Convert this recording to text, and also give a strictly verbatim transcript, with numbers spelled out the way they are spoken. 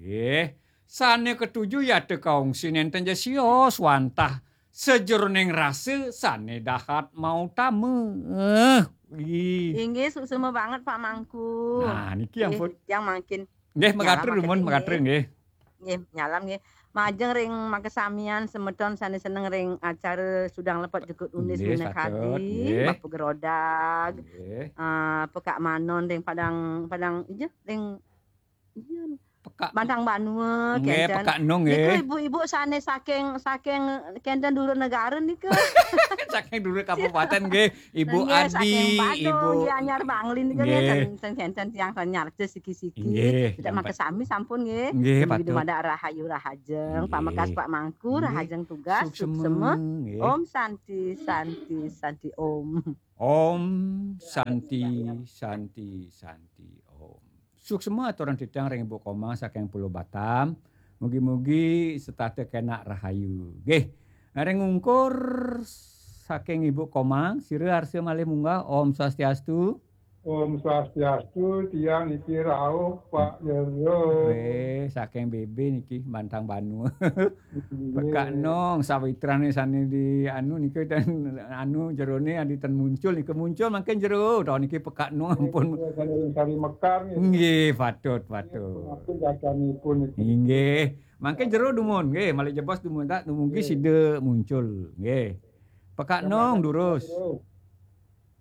Nggih. Sane ketuju yata kaungsi nenten ja sios wantah sajeroning rasa sane dahat mautama. Eh, ih. Inggih, suksma banget Pak Mangku. Nah, niki ampun. Yang mangkin Nggih, mekater dumun, mekater nggih. Nggih, nyalam nggih. Majeng ring makasamian semeton sane seneng ring acara Sudang Lepet Jukut Unis Nggih, Minakadi, nggih. Bapu Gerodag, nggih. Eh, Pekak Manon ring Padang, Padang, iya, ring, iya. Pekak. Bantang Banua, nggih, kenten. Pekak Nong, nggih. Niku ibu-ibu sane saking, saking kenten dulur negara niku. Saking dulur kabupaten, nggih. Ibu Adi, saking Badung, Ibu Gianyar Bangli niku, nggih. Nggih, ten, ten kenten tiang sane nyarca siki-siki. Nggih, tidak makasami sampun, nggih. Nggih, patut. Dumadak rahayu rahajeng, nggih. Pamekas Pak Mangku, nggih. Rahajeng tugas, suksema. Suksema, nggih. Om Santi, Santi, Santi Om. Om Santi, Santi, Santi Om. Suksema aturan titiang ring Ibu Komang saking Pulau Batam. Mugi-mugi setata kenak rahayu. Nggih. Ring ungkur saking Ibu Komang, sira arsa malih munggah. Om Swastiastu. Om Swastiastu, tiang niki rauh Pak Jero. Weh, saking B B niki Bantang Banua. Nggih. Pekak Nong, sawitrane sane di anu nika ten anu jerone adi ten muncul nika muncul mangkin jero. Taun niki Pekak Nong ampun. Nggih, sane ring Sari Mekar nggih. Nggih, patut, patut. Nggih, ampun gadanipun niki. Nggih. Mangkin jero dumun nggih, malih jebos dumun tak dumugi sida muncul nggih. Pekak Nong durus. Jero.